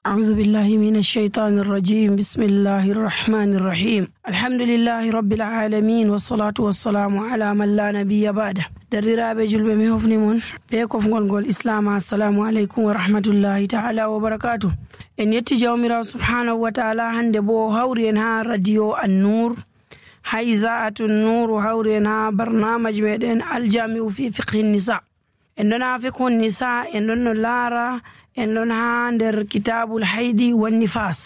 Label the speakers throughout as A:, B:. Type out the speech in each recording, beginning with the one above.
A: أعوذ بالله من الشيطان الرجيم. بسم الله الرحمن الرحيم. الحمد لله رب العالمين والصلاة والسلام على من لا نبي بعده. درiraɓe julɓe mi hofni mon be kofgol ngol islama. assalamu aleykum wa rahmatullahi ta'ala wa barakatuh. En yetti jawmirawo subhanahu wa ta'ala. hande bo hawri en ha radio an-nur ha iza'atu an-nur, hawri en ha barnamaj meɗen aljami'u fi fiqhi nisa. en ɗon ha fiqhu nisa, en ɗon no laara en ɗon ha nder kitabul haydi wan nifas.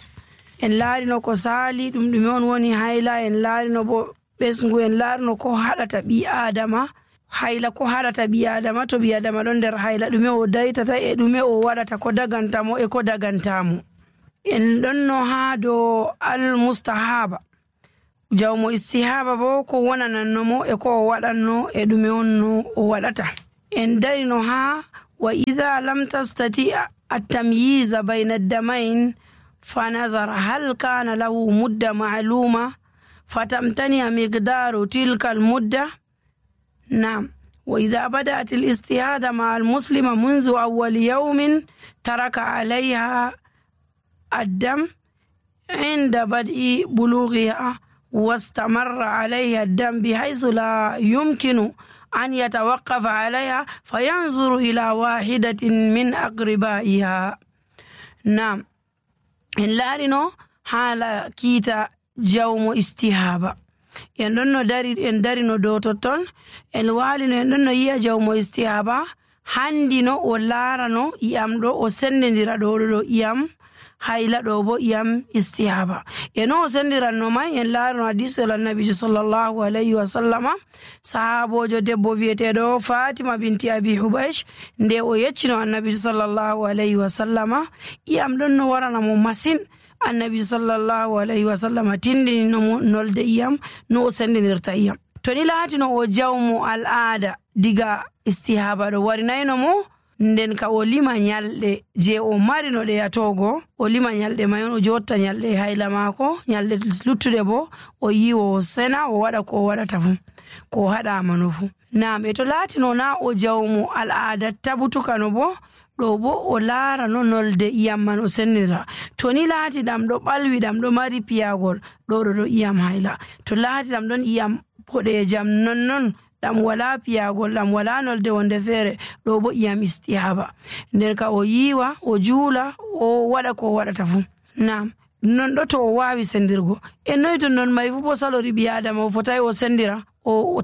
A: en laarino ko saali ɗum ɗume on woni hayla, en laarino bo ɓesgu, en laarino ko haɗata ɓi adama hayla, ko haɗata ɓi adama to ɓi adama ɗon nder hayla, ɗume o daytata e ɗume o waɗata, ko dagantamo e ko dagantamo. en ɗon no ha dow al mustahaba, jawmo istihaba bo ko wonanannomo e ko o waɗanno e ɗume on no o waɗata. en darino ha wa idha lam tastati التمييز بين الدمين فنظر هل كان له مدة معلومة فتمتنع مقدار تلك المدة. نعم. وإذا بدأت الاستهادة مع المسلمة منذ أول يوم ترك عليها الدم عند بدء بلوغها واستمر عليها الدم بحيث لا يمكن أن يتوقف عليها فينظر إلى واحدة من أقربائها. نعم. إن لارنو حالا كيتا جوم استهابة. إن دارنو دوتوتون إن والنو إن يا جوم استهابة handino o laarano iyam ɗo o sendindira ɗo iyam hayla ɗo bo iyam istihaba. no o sendiranno mai en laarano hadisel annabijo sallallahu alayhi wa sallama. sahabojo debbo wiyeteɗo fatima binti abi hubaysh nde o yeccino annabijo sallallahu alayhi wa sallama iyam ɗon no waranamo masin, annabi sallallahu alayhi wa sallama tindininomo nolde iyam no o sendinirta iyam. to ni laatino o jawmo al'ada diga istihaba ɗo warinayno mo, nden ka o lima nyalɗe je o marino ɗe yatogo, o lima nyalɗe may on, o jotta nyalɗe hayla mako, nyalɗe luttuɗe bo o yiwo o sena, o waɗa ko o waɗata fu, ko haɗama no fu. Naam. to laatino na o jawmo al'ada tabutukano bo, ɗo bo o laarano nolde iyam man o sendira. to ni laati ɗam ɗo ɓalwi, ɗam ɗo mari piyagol, ɗo iyam hayla. to laati ɗam ɗon iyam boɗejam nonnon, ɗam wala piyagol, ɗam wala nolde wonde feere, ɗo bo iyam istihaba. nden ka o yiwa, o juula, o waɗa ko waɗata fu. Naam. non ɗo to o wawi sendirgo. noyi to non may fu bo salori ɓi adama o fotai o sendira, o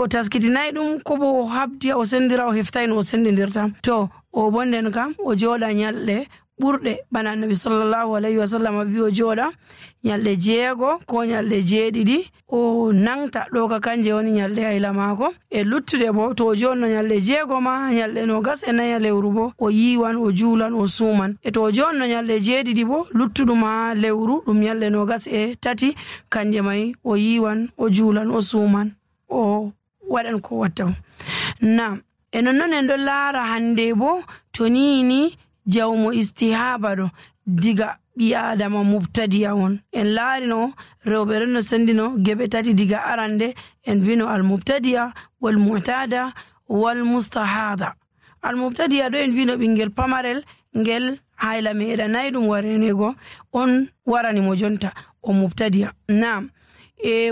A: taskitinayi ɗum, ko bo o habdi o sendira, o heftayi no o sendidirta. to o bo nden kam o jooɗa nyalɗe ɓurɗe bana annabi sallallahu alayhi wa sallam wi o jooɗa nyalɗe 6 ko nyalɗe 7 o nangta ɗo ka kanje woni nyalɗe hayla maako. luttude bo to o jonno nyalɗe 6 ma nyalɗe 24 lewru bo o yiwan, o juulan, o suuman. to o jonno nyalɗe 7 bo luttuɗum ha lewru ɗum nyalɗe 23 kanje may o yiwan, o juulan, o suuman, o waɗan ko watta. Naam. nonnon en ɗo laara hande bo to nini jawmo istihaba ɗo diga ɓi adama mubtadi'a on. en laarino rewɓe ɗon no sendino geɓe 3 diga arande. en vino al mubtadi'a wal mu'tada wal mustahada. al mubtadi'a ɗo en vino ɓingel pamarel ngel hayla meɗanayi ɗum warenego on waranimo jonta, o mubtadi'a. Naam.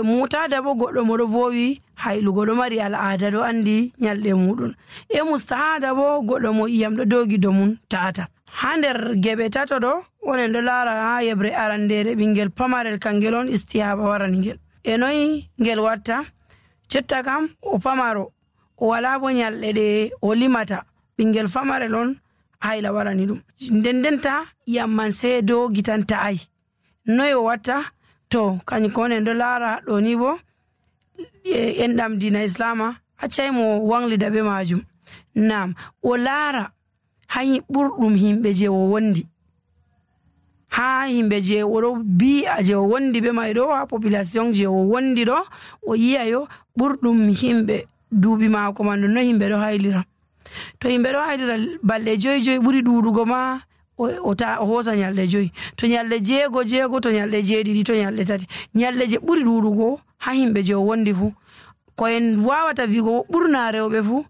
A: mutada bo goɗɗo moɗo vowi haylugo, ɗo mari al'ada, ɗo andi nyalɗe muɗum. mustahada bo goɗɗo mo iyam ɗo dogi do mum ta'ata. ha nder geɓe 3 ɗo onen ɗo laara ha yebre arandere ɓingel pamarel kangel on istihaba warani ngel. noyi ngel watta? jotta kam o pamaro, o wala bo nyalɗe ɗe o limata, ɓingel pamarel on hayla warani ɗum. ndendenta iyam man sai dogi tan ta'ai. noyi o watta? to kañum ko onen ɗo laara ɗo ni bo enɗam dina islama accay mo wanglida be majum. Naam. o laara ha ɓurɗum himɓe je o wondi, ha himɓe je oɗo bi'a je o wondi be may ɗo, ha population je o wondi ɗo, o yi'ayo ɓurɗum himɓe duuɓi maako man no himɓe ɗo haylira. to himɓe ɗo haylira balɗe 5 ɓuri ɗuɗugo ma o hoosa nyalɗe 5. to nyalɗe 6 to nyalɗe 7 to nyalɗe 3, nyalɗe je ɓuri ɗuɗugo ha himɓe je o wondi fu. ko en wawata wigo ɓurna rewɓe fu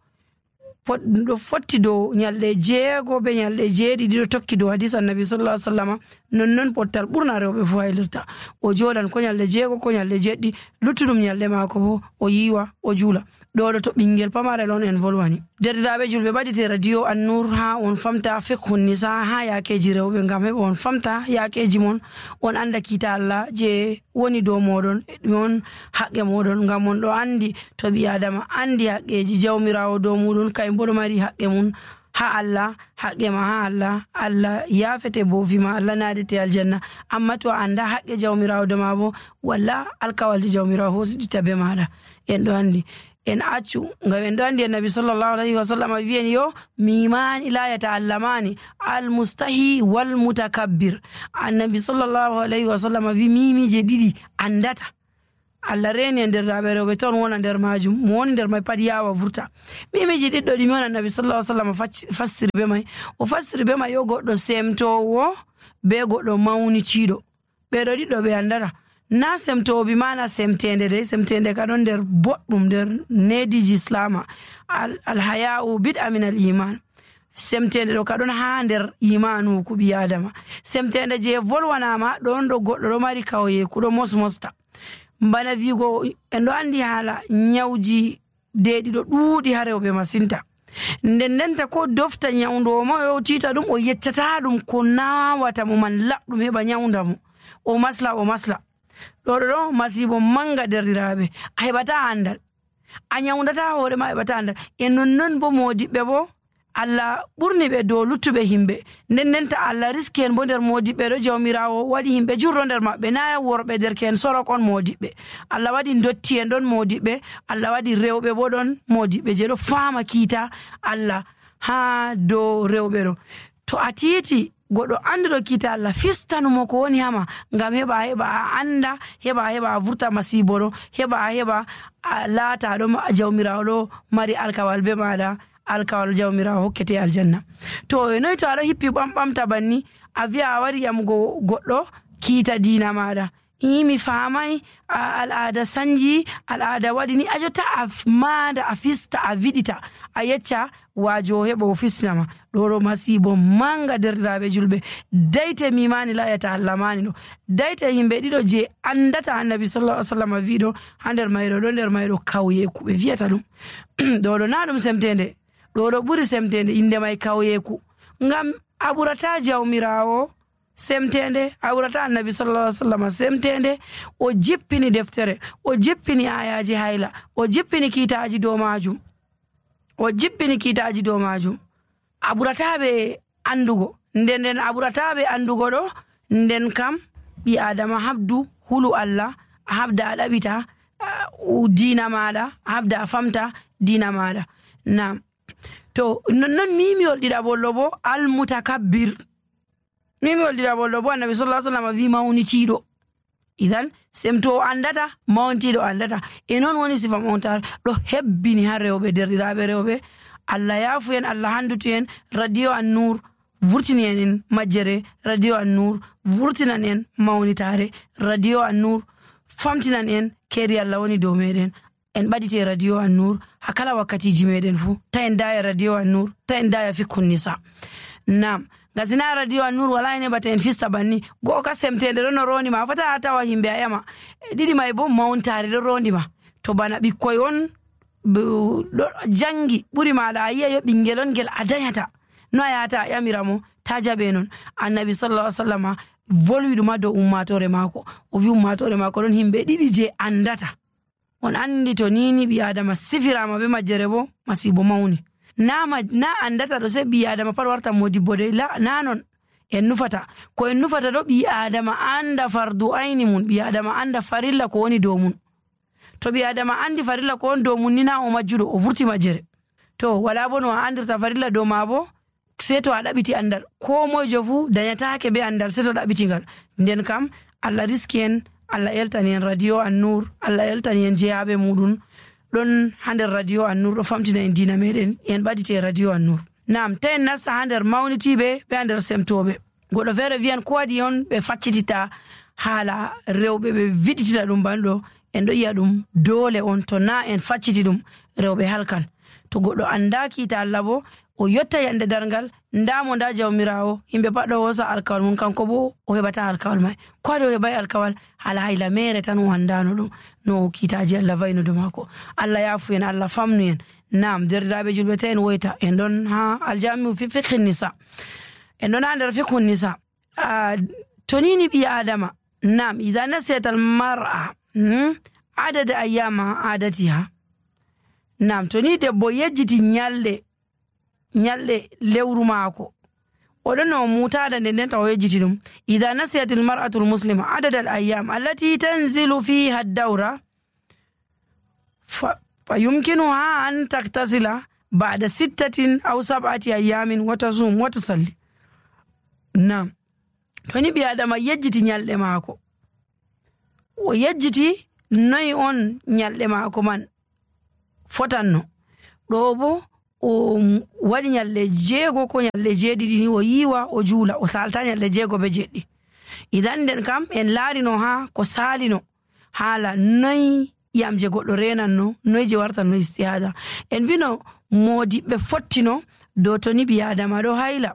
A: ɗo fotti dow nyalɗe 6 be nyalɗe 7 ɗiɗo tokki dow hadis annabi sallallahu alaihi wasallam nonnon pottal ɓurna rewɓe fu haylirta o joɗan ko nyalɗe 6 ko nyalɗe 7 luttuɗum nyalɗe maako bo o yiwa o juula. ɗo to ɓingel pamarel on en volwani. Derɗiraɓe julɓe ɓaɗite radio An-Nur ha on famta fiqhun nisa ha yakeji rewɓe ngam heɓa on famta yakeji mon on anda kiita Allah je woni dow moɗon ɗume on haqqe moɗon ngam on ɗo andi to ɓi adama andi haqqeji jawmirawo dow muɗum kay bo ɗo mari haqqe mum ha Allah haqqe ma ha Allah Allah yafete bofima Allah nadete aljanna amma to anda haqqe jawmirawo dow ma bo walla alkawalde jawmirawo hosiɗita be maɗa en ɗo andi en accu ngam en ɗo andi annabi sallallahu alaihi wasallam wi'en yo mimani la yata'allamani almustahi wal mutakabbir. Annabi sallallahu alaihi wasallam wi mimije ɗiɗi andata Allah reni e nder rewɓe ton wona nder majum mo woni nder may pat yawa vurta. Mimiji ɗiɗɗo ɗimi on annabi sallallahu alaihi wasallam fassiri be may o fassiri be may yo goɗɗo semtowo be goɗɗo mawniciɗo ɓeɗo ɗiɗɗo ɓe andata na semtowo bi mana semtende de semtende ka ɗon nder boɗɗum nder nediji islama alhaya'u bid'a min al iman semtende ɗo ka ɗon ha nder imanu ku ɓi adama semtende je volwanama ɗon ɗo goɗɗo ɗo mari kawyeku ɗo mosmosta bana wigo en ɗo andi haala nyawji deɗi ɗo ɗuuɗi ha rewɓe masinta nden ndenta ko dofta nyawdowo ma o tita ɗum o yeccata ɗum ko nawata mo man laɓɗum heɓa nyawda mo o masla ɗo masibo manga derɗiraɓe a heɓata andal a nyawdata hoore ma heɓata andal e nonnon bo modiɓɓe bo Allah ɓurni ɓe dow luttuɓe himɓe ndenta Allah riski en bo nder modiɓɓe ɗo jawmirawo waɗi himɓe jurro nder maɓɓe na worɓe derken sorok on modiɓɓe Allah waɗi dotti en ɗon modiɓɓe Allah waɗi rewɓe bo ɗon modiɓɓe je ɗo fama kiita Allah ha dow rewɓe ɗo to a titi goɗɗo anduɗo kiita Allah fistanumo ko woni hama ngam heɓa a anda heɓa a vurta masibo ɗo heɓa a laata ɗo jawmirawo ɗo mari alkawal be maɗa alkawal jawmirawo hokkete aljanna. To noy to aɗo hippi ɓamɓamta banni a wi'a a wari yamugo goɗɗo kiita diina maɗa mi famai al'ada sanji al'ada waɗi ni a jotta a maada a fista a viɗita a yecca wajo heɓa o fisnama ɗo masibo manga derɗiraɓe julɓe dayte mimani la yata'allamani ɗo dayte yimɓe ɗiɗo je andata annabi sallallahu alaihi wasallam wiɗo ha nder mayɗo kawyeku ɓe wiyata ɗum ɗo na ɗum semtende ɗo ɓuri semtende inde may kawyeku ngam a ɓurata jawmirawo semtende a ɓurata annabi sallallahu alaihi wasallam semtende o jippini deftere o jippini ayaji hayla o jippini kiitaji dow majum a ɓurataɓe andugo nden a ɓurataɓe andugo ɗo nden kam ɓi adama habdu hulu Allah a habda a ɗaɓita dina maɗa a habda a famta dina maɗa nam to non mimiwol ɗiɗaɓollo bo almutakabbir mimiwol ɗiɗaɓollo bo annabi sallallahu alaihi wasallam wi mawnitiɗo idan semto andata mawntiɗo andata e noon woni sifa mawntare ɗo hebbini ha rewɓe derɗiraɓe rewɓe Allah yafu en Allah handutu en radio An-Nur vurtini en majjere radio An-Nur vurtinan en mawnitare radio An-Nur famtinan en keri Allah woni dow meɗen en ɓaɗite radio An-Nur ha kala wakkatiji meɗen fu ta en daya radio An-Nur ta en daya fiqhun nisa nam gasina radio An-Nur wala en heɓata en fista banni go'o ka semtende ɗo no rondima fata a tawa himɓe a ƴama ɗiɗi may bo mawntare ɗo rondima to bana ɓikkoy on ɗo jangi ɓuri maɗa a yi'a yo ɓingel on ngel a dayata no a yahata a ƴamiramo ta jaɓe non annabi sallallahu alaihi wasallam volwi ɗuma dow ummatore maako o wi ummatore maako ɗon himɓe ɗiɗi je andata on andi to nini ɓi adama sifirama be majjere bo masibo mawni na andata ɗo se ɓi adama pat warta modibbo de na non en nufata ko en nufata ɗo ɓi adama anda fardu ayni mun ɓi adama anda farilla ko woni dow mun to ɓi adama andi farilla ko woni dow mun ni na o majjuɗo o vurti majjere to wala bo no a andirta farilla dow ma bo se to a ɗaɓiti andal ko mojo fu dañatake be andal se to ɗaɓitigal nden kam Allah riski en Allah eltani en radio An-Nur Allah eltani en jeyaɓe muɗum ɗon ha nder radio An-Nur ɗo famtina en dina meɗen en ɓaɗite radio An-Nur nam ta en nasta ha nder mawnitiɓe ɓe ha nder semtoɓe goɗɗo feere wiyan ko waɗi on ɓe faccitita haala rewɓe ɓe viɗitita ɗum banɗo en ɗo yiya ɗum doole on to na en facciti ɗum rewɓe halkan to goɗɗo anda kiita Allah bo o yotta yande darngal ndamo nda jawmirawo yimɓe pat ɗo hosa alkawal mum kanko bo o heɓata alkawal mai ko waɗi o heɓai alkawal hala hayla mere tan o andano ɗum no kiitaji Allah vayno do mako. Allah yafu en, Allah famnu en. Nam derɗiraɓe julɓe ta en woyta en ɗon ha aljamiu fi fiqhi nisa, en ɗon ha nder fiqhu nisa. tonini ɓi adama nam ida nasiyat al mar'a adada ayyama adatiha. nam toni debbo yejjiti nyalɗe lewru maako oɗon no mutada nden taw yejjiti ɗum. ida nasiyat al mar'atu al muslima adada al ayyam allati tanzilu fiha ad-dawra fa yumkinuha an taktasila ba'da 6 aw 7 ayyamin wa tasum wa tusalli. nam toni ɓi adama yejjiti nyalɗe maako, o yejjiti noyi on nyalɗe maako man fotanno, ɗo bo o waɗi nyalɗe 6 ko nyalɗe 7 ni o yiwa o juula o salta nyalɗe 6 be 7. idan nden kam en laarino ha ko salino haala noyi yamje goɗɗo renanno, noyi je wartanno istihada. en bino modiɓɓe fottino dow toni ɓi adama ɗo hayla,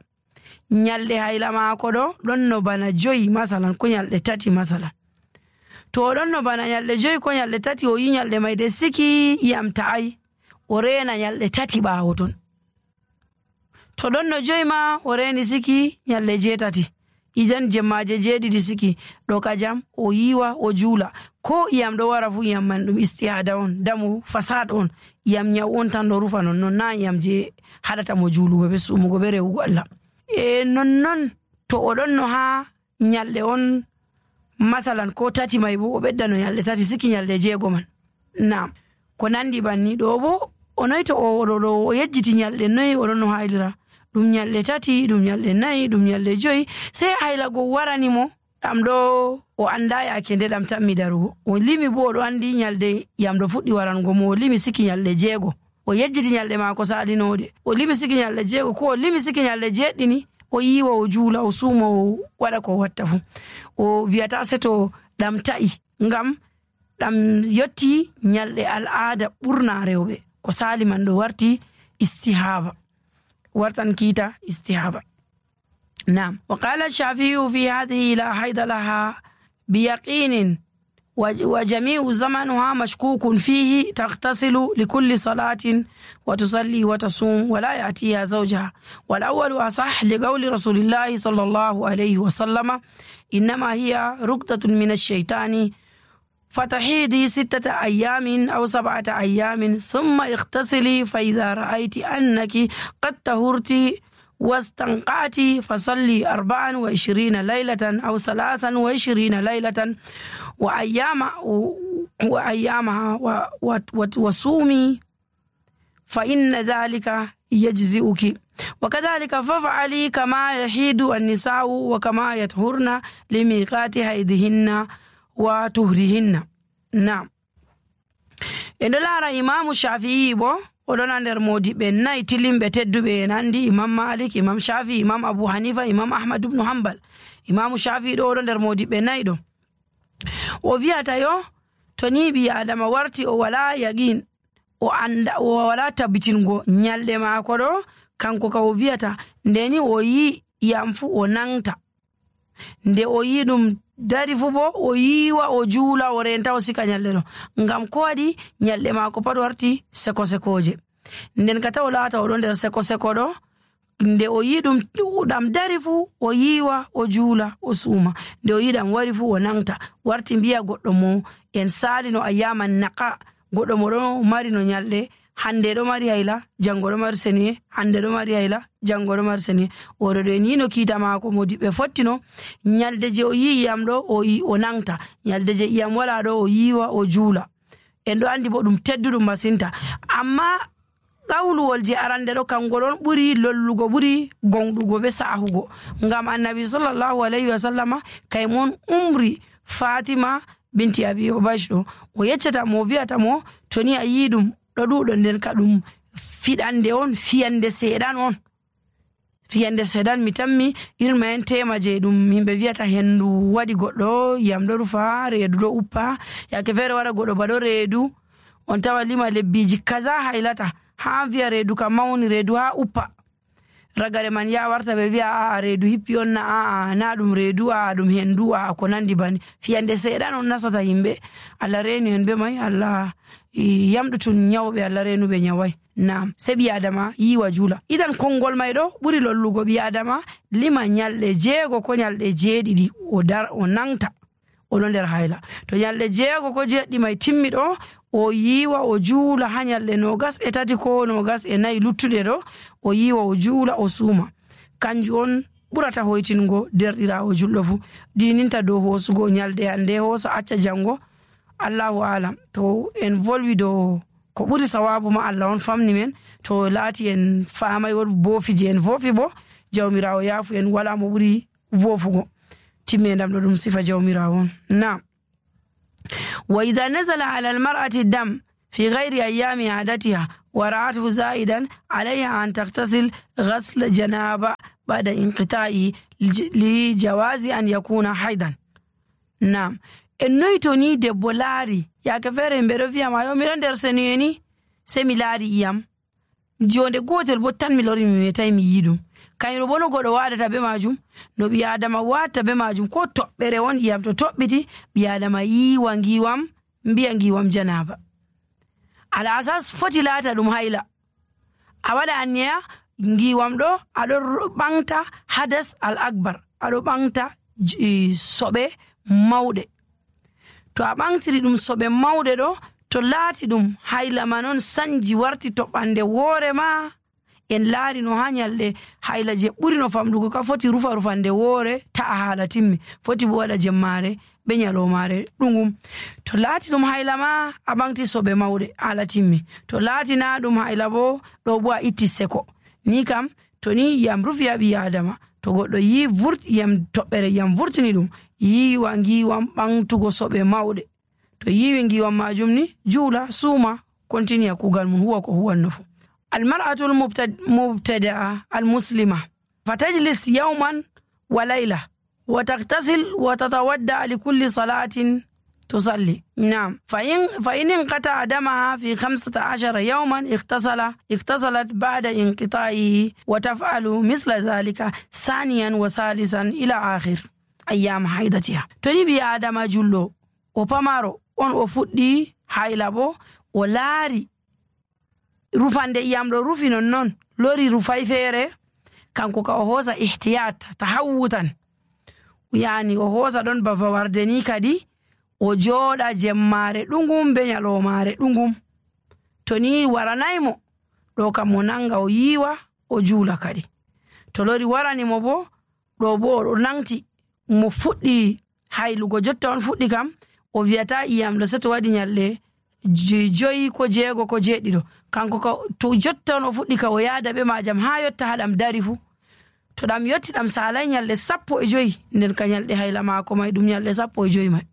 A: nyalɗe hayla maako ɗo ɗon no bana 5 masalan ko nyalɗe 3 masalan. to oɗon no bana nyalɗe 5 ko nyalɗe 3 o yi nyalɗe mai de siki yam ta'ai o rena nyalɗe 3 ɓaawo ton. to ɗon no 5 ma o reni siki nyalɗe 8, idan jemmaje 7 siki ɗo kajam o yiwa o juula. ko iyam ɗo wara fu iyam man ɗum istihada on, damu fasad on, iyam nyaw on tan ɗo rufa nonnon, na iyam je haɗata mo juulugo be sumugo be rewugo Allah. nonnon to oɗon no ha nyalɗe on masalan ko 3 mai bo o ɓedda no nyalɗe 3 siki nyalɗe 6 man. nam ko nandi banni ɗo bo o noyi to o yejjiti nyalɗe noyi oɗon no haylira ɗum nyalɗe 3, ɗum nyalɗe 4, ɗum nyalɗe 5, sey haylago warani mo ɗam ɗo o anda yake nde ɗam tammi darugo. o limi bo oɗo andi nyalɗe yam ɗo fuɗɗi warango mo, o limi siki nyalɗe 6 o yejjiti nyalɗe maako salinoɗe, o limi siki nyalɗe 6 ko o limi siki nyalɗe 7 ni o yiwa o juula o suuma o waɗa ko watta fu. o wiyata seto ɗam ta'i ngam ɗam yotti nyalɗe al'ada ɓurna rewɓe ko sali man ɗo warti istihaba, wartan kiita istihaba. nam wa qala shafi'u fi hadhihi la hayda laha biyaqinin وجميع زمنها مشكوك فيه تغتسل لكل صلاة وتصلي وتصوم ولا يأتيها زوجها. والأول أصح لقول رسول الله صلى الله عليه وسلم إنما هي ركضة من الشيطان فتحيدي 6 أيام أو 7 أيام ثم اغتسلي فإذا رأيت أنك قد طهرت واستنقعت فصلي 24 ليلة أو 23 ليلة وأيامها وصومي فإن ذلك يجزئك. وكذلك فافعلي كما يحيد النساء وكما يطهرن لميقات حيضهن وطهرهن. نعم. إن لا إمام الشافعي oɗon nder modiɓe 4 tilimɓe tedduɓe en andi imam malik, imam shafi, imam abu hanifa, imam ahmad ibn hanbal. imam shafi ɗo oɗon nder modiɓe 4 ɗo. o wiyata yo to ni ɓi adama warti o wala yaqin, o anda o wala tabbitingo nyalɗe maako ɗo, kanko ka o wiyata ndeni o yi yam fu o nangta, nde o yi ɗum dari fu bo o yiwa o juula o renta o sika nyalɗe ɗo, ngam ko waɗi nyalɗe maako pat warti seko-sekoje. nden ka taw laata oɗo nder seko-seko ɗo, nde o yi ɗam dari fu o yiwa o juula o suuma, nde o yi ɗam wari fu o nangta, warti mbiya goɗɗo mo en salino ayyaman naqa, goɗɗo mo ɗo mari no nyalɗe hande ɗo mari hayla, jango ɗo mari seniye, hande ɗo mari hayla, jango ɗo mari seniye. oɗo ɗo ni no kiita maako modiɓɓe fottino, nyalde je o yi iyam ɗo o yi o nangta, nyalde je iyam wala ɗo o yiwa o juula. en ɗo andi bo ɗum tedduɗum masinta. amma qawluwol je arande ɗo kango ɗon ɓuri lollugo, ɓuri gonɗugo be sahugo, ngam annabi sallallahu alayhi wa sallama kaymon umri fatima binti abi hubaysh ɗo, o yeccata mo, wiyata mo to ni a yi ɗum ɗo ɗuɗo nden ka ɗum fiɗande on, fiyande seeɗan on, fiyande seeɗan. mi tammi irin ma en tema je ɗum yimɓe wiyata hendu waɗi goɗɗo, yam ɗo rufa, reedu ɗo uppa, yake feere waɗa goɗɗo baɗo reedu, on tawa lima lebbiji kaza haylata, ha wi'a reedu kam mawni, reedu ha uppa, ragare man ya warta ɓe wi'a aa reedu hippi on, na ɗum reedu, ɗum hendu, ko nandi bani. Fiyande seeɗan on nasata yimɓe. Allah reenu en be mai, Allah yamɗutun nyawɓe, Allah reenuɓe nyawai. Naam, se ɓi adama yiwa juula. Idan konngol may ɗo ɓuri lollugo ɓi adama lima nyalɗe 6 ko nyalɗe 7 o nangta oɗo nder hayla. To nyalɗe 6 ko 7 may timmi ɗo, o yiwa o juula ha nyalɗe 23 ko 24 luttuɗe ɗo, o yiwa o juula o suuma. Kanjum on ɓurata hoytingo derɗirawo julɗo fu. Ɗininta dow hoosugo nyalɗe hande hoosa acca jango, Allahu alam. To en volwi dow ko ɓuri sawabu ma Allah on famni men, to laati en faamay boofi je en foofi bo jawmirawo yaafu en, wala mo ɓuri wofugo. Timmendam ɗo ɗum sifa jawmirawo on. Naam. Wa idha nazala ala almar'ati dam fi ghayri ayami adatiha wa ra'athu za'idan alayha an taghtasil ghasl janaba ba'da inqita'i li jawazi an yakuna haidan. Naam. En noyi to ni debbo laari yaake feere yimɓe ɗo wi'a ma yo miɗo nder senuye ni, se mi laari iyam jonde gotel bo tan mi lori mi metai mi yi ɗum. Kayru bo no goɗo waɗata be majum, no ɓi adama watta be majum, ko toɓɓere won iyam to toɓɓiti ɓi adama yiwa ngiwam, mbiya ngiwam janaba. Ala asas foti laata ɗum hayla. A waɗa anniya ngiwam ɗo aɗo ɓangta hadas al akbar, aɗo ɓangta soɓe mawɗe. To a ɓangtiri ɗum soɓe mawɗe ɗo, to laati ɗum hayla ma non sanji warti toɓɓande woore ma, en laari no ha nyalɗe hayla je ɓuri no famɗugo ka foti rufa rufande woore ta'a haala timmi, foti bo waɗa jemmare be nyalomare ɗungum. To laati ɗum hayla ma a ɓangti soɓe mawɗe haala timmi, to laati na ɗum hayla bo ɗo bo a itti seko. Ni kam to ni yam rufi ha ɓi adama, to goɗɗo yi yam toɓɓere yam vurtini ɗum, yiwa ngiwam ɓangtugo soɓe mawɗe. To yiwi ngiwam majum ni juula suuma kontinia kugal mum huwa ko huwanno fu. المرأة المبتدئة المسلمة فتجلس يوما وليلة وتغتسل وتتودع لكل صلاة تصلي. نعم. فإن انقطع دمها في 15 يوما اغتسلت بعد انقطاعه وتفعل مثل ذلك ثانيا وثالثا إلى آخر أيام حيضتها. تنبي آدم جلو وپمارو on o fuɗɗi hayla bo o laari rufande iyam ɗo rufi non lori rufay feere, kanko ka o hoosa ihtiyat tahawutan, yani o hoosa ɗon ba fawarde ni kadi o jooɗa jemmare ɗungum be nyalomare ɗungum. To ni waranaymo ɗo kam mo nanga o yiwa o juula kadi. To lori waranimo bo ɗo bo o nangti mo fuɗɗi haylugo jotta on fuɗɗi kam o wiyata iyam ɗo seto waɗi nyalɗe 5 ko 6 ko 7 kanko ka to jotta on o fuɗɗi ka o yaada be majam ha yotta haɗam dari fu. To ɗam yotti ɗam salay nyalɗe 15 nden ka nyalɗe hayla maako may ɗum nyalɗe 15 may.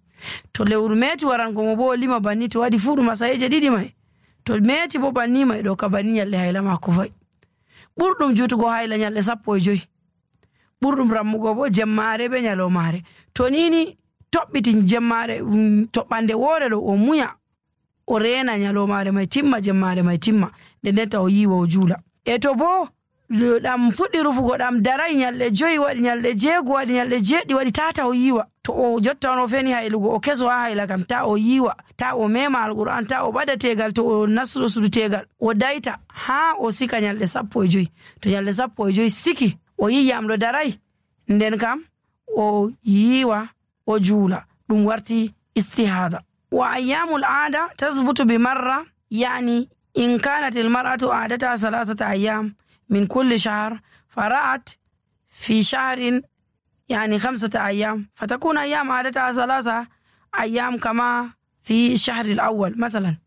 A: To lewru meti warango mo bo o lima banni, to waɗi fu ɗum asayeje 2 may, to meti bo banni may ɗo ka banni nyalɗe hayla maako fay. ɓurɗum jutugo hayla nyalɗe 15, ɓurɗum rammugo bo jemmare be nyalomare. To nini toɓɓiti jemmare toɓɓande woore ɗo o munya o reena nyalomare may timma, jemmare may timma, nden ta o yiwa o juula. E to bo ɗam fuɗɗi rufugo ɗam daray nyalɗe 5 waɗi, nyalɗe 6 waɗi, nyalɗe 7 waɗi, tata o yiwa. To o jotta on o feni haylugo o keso ha hayla kam ta o yiwa, ta o mema alquran, ta o ɓada tegal, to o nasruɗo sudu tegal o dayta ha o sika nyalɗe 15. To nyalɗe 15 siki o yi yamɗo daray, nden kam o yiwa o juula, ɗum warti istihada. وأيام العادة تثبت بمرة، يعني إن كانت المرأة عادتها 3 أيام من كل شهر فرأت في شهر يعني 5 أيام، فتكون أيام عادتها 3 أيام كما في الشهر الأول مثلا.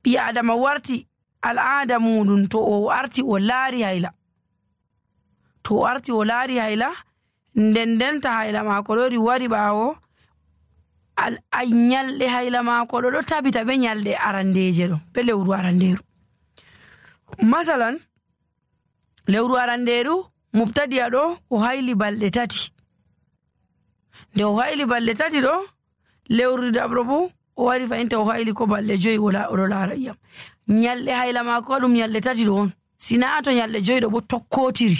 A: بيعدم ورتي العادة مودن تو أرتي ولاري هيلا، تو أرتي ولاري هيلا ندن هيلا ما كلوري وري باو ay nyalɗe hayla maako ɗo tabita be nyalɗe arandeje ɗo be lewru aranderu. Masalan lewru aranderu mubtadiya ɗo o hayli balɗe 3, nde o hayli balɗe 3 ɗo lewru dabro bo o wari fahinta o hayli ko balɗe 5 oɗo laara iyam. Nyalɗe hayla maako ɗum nyalɗe 3 ɗo on, sina to nyalɗe 5 ɗo bo tokkotiri.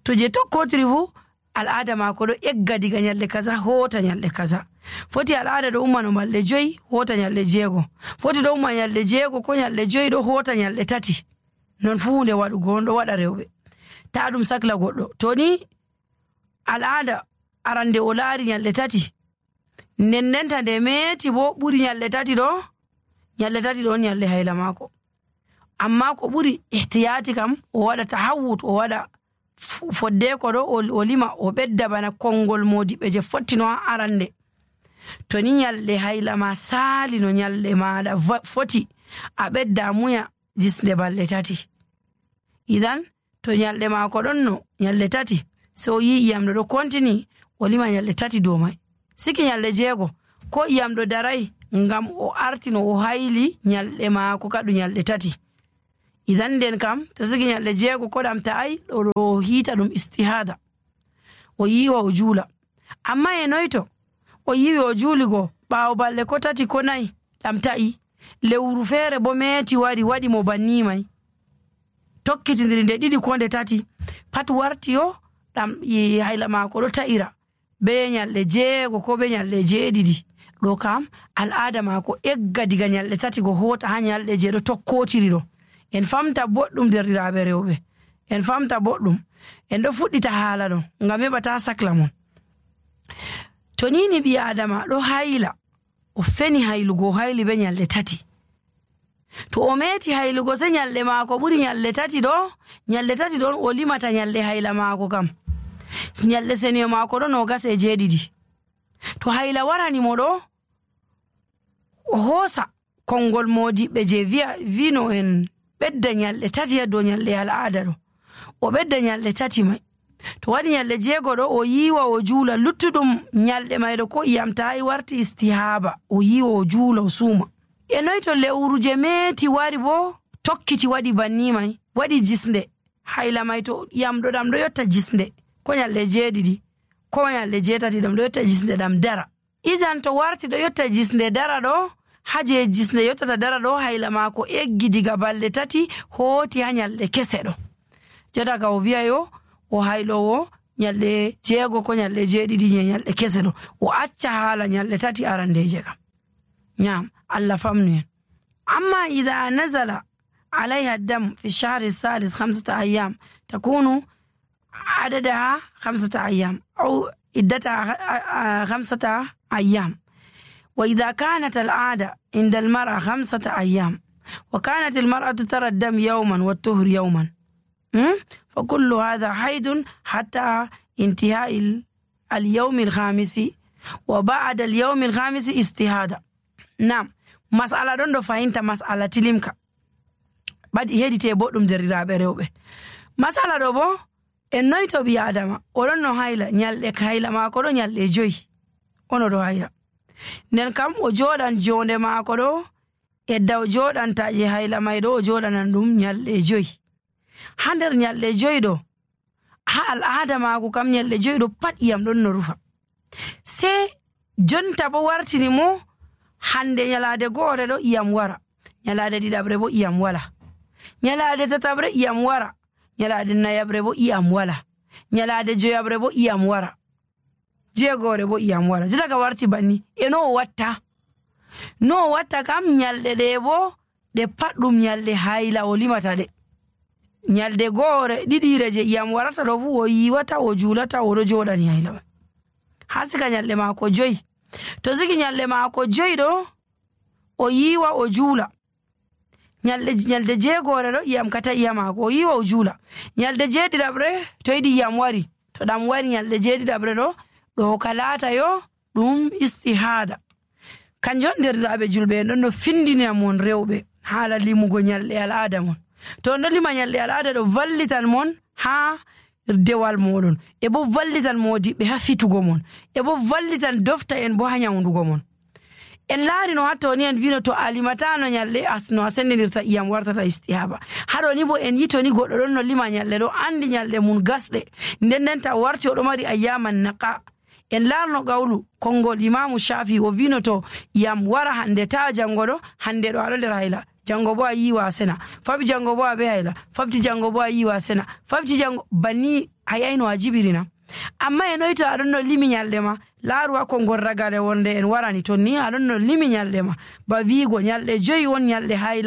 A: To je tokkotiri fu al'ada maako ɗo egga diga nyalɗe kaza hota nyalɗe kaza. Foti al'ada ɗo umma no balɗe 5 hota nyalɗe 6, foti ɗo umma nyalɗe 6 ko nyalɗe 5 ɗo hota nyalɗe 3. Non fu hunde waɗugo on ɗo waɗa rewɓe, ta ɗum sakla goɗɗo. To ni al'ada arande o laari nyalɗe 3, nendenta nde meeti bo ɓuri nyalɗe 3 ɗo, nyalɗe 3 ɗo on nyalɗe hayla maako. Amma ko ɓuri ihtiyati kam o waɗa tahawut, o waɗa foddeko ɗo o lima o ɓedda bana konngol modiɓɓe je fottino ha arande. To ni nyalɗe hayla ma saali no nyalɗe maɗa foti, a ɓedda muya jisnde balɗe 3. Idan to nyalɗe maako ɗon no nyalɗe 3 so yi iyam ɗo kontini o lima nyalɗe 3 dow mai. Siki nyalɗe 6 ko iyam ɗo darai ngam o artino o hayli nyalɗe maako kadu nyalɗe 3. Idan nden kam to siki nyalɗe 6 ko ɗam ta'ai ɗo hiita ɗum istihada, o yiwa o juula. Amma e noyto o yiwi o juuli go ɓaawo balɗe ko 3 ko 4 ɗam ta'i, lewru feere bo meeti wari waɗi mo banni mai, tokkitindiri nde 2 ko nde 3 pat warti yo ɗam hayla maako ɗo ta'ira be nyalɗe 6 ko be nyalɗe 7. Ɗo kam al'ada maako egga diga nyalɗe 3 go hota ha nyalɗe 6 ɗo tokkotiri ɗo. En famta boɗɗum derɗiraaɓe rewɓe, en famta boɗɗum, en ɗo fuɗɗita haala ɗo ngam heɓa ta sakla mon. To ni ɓi adama ɗo hayla, o feni haylugo hayli be nyalɗe 3. To o meeti haylugo se nyalɗe maako ɓuri nyalɗe 3 ɗo, nyalɗe 3 ɗon o limata nyalɗe hayla maako kam. Nyalɗe seniyo maako ɗo 27. To hayla warani mo ɗo, o hoosa konngol modiɓɓe je vino en ɓedda nyalɗe 3 ha dow nyalɗe al'ada ɗo, o ɓedda nyalɗe 3 mai. To waɗi nyalɗe 6 ɗo o yiwa o juula, luttuɗum nyalɗe mayɗo ko iyam ta'i warti istihaba, o yiwa o juula o suuma. E noy to lewru je meeti wari bo tokkiti waɗi banni mai, waɗi jisnde hayla mai, to iyam ɗo ɗam ɗo yotta jisnde ko nyalɗe 7 ko nyalɗe 8 ɗam ɗo yotta jisnde ɗam dara. Idan to warti ɗo yotta jisnde dara ɗo, haje jisnde yottata dara ɗo hayla maako eggi diga balɗe 3 hooti ha nyalɗe kese ɗo. Jota ka o wi'a yo o haylowo nyalɗe 6 ko nyalɗe 7 nyalɗe kese ɗo, o acca haala nyalɗe 3 arandeje kam. Nyam Allah famnu en. Amma idha nazala عليها الدم في الشهر الثالث 5 أيام تكون عددها 5 أيام أو عدتها 5 أيام. وإذا كانت العادة عند المرأة 5 أيام وكانت المرأة ترى الدم يوما والطهر يوما، فكل هذا حيض حتى انتهاء اليوم الخامس، وبعد اليوم الخامس استهادة. نعم، مسألة دون فهمت مسألة تلمك badi hedite boɗɗum derdiraaɓe rewɓe. Masala ɗo bo en noy to ɓi adama oɗon no hayla, nyalɗe hayla maako ɗo nyalɗe 5 ono ɗo hayla, nden kam o jooɗan jonde maako ɗo edda o jooɗanta je hayla may ɗo o jooɗanan ɗum nyalɗe 5. Ha nder nyalɗe 5 ɗo ha al'ada maako kam nyalɗe 5 ɗo pat iyam ɗon no rufa. Se jonta bo wartini mo hande nyalade goore ɗo iyam wara, nyalade ɗiɗaɓre bo iyam wala, nyalade tatabre iyam wara, nyalade nayabre bo iyam wala, nyalade joyabre bo iyam wara, jeegore bo iyam wara. Jota ka warti banni e no o watta kam nyalde ɗe bo ɗe pat ɗum nyalde hayla o limata ɗe. Nyalde goore ɗiɗire je iyam warata ɗo fu o yiwata o juulata o ɗo joɗani hayla mai ha sika nyalde maako 5. To siki nyalde maako 5 ɗo o yiwa o juula, nyalde jeegore ɗo iyam kata iyam maako o yiwa o juula, nyalde jeeɗiɗaɓre to yiɗi iyam wari, to ɗam wari nyalde jeeɗiɗaɓre ɗo ka laata yo ɗum istihada. Kanjon derɗiraɓe julɓe en ɗon no findina mon rewɓe haala limugo nyalɗe al'ada mon. To on ɗo lima nyalɗe al'ada ɗo vallitan mon ha dewal moɗon, e bo vallitan modiɓɓe ha fitugo mon, e bo vallitan dofta en bo ha nyawdugo mon. En laari no hatto ni en vino to alimatano nyalɗe no a sendinirta iyam wartata istihaba. Haɗo ni bo en yito ni goɗɗo ɗon no lima nyalɗe ɗo andi nyalɗe mun gasɗe, nden ta warti oɗo mari ayyaman naqa, en larno qawlu konngol imamu Shafi o wino to yam wara hande ta jango ɗo, hande ɗo aɗo nder hayla, jango bo a yiwa sena, fabi jango bo a be hayla, fabti jango bo a yiwa sena, fabti jango banni a yayno a jibirina. amma en oyi to aɗon no limi nyalɗe ma, laaru ha konngol ragare wonde en warani ton ni aɗon no limi nyalɗe ma, ba wiigo nyalɗe 5 on nyalɗe hayla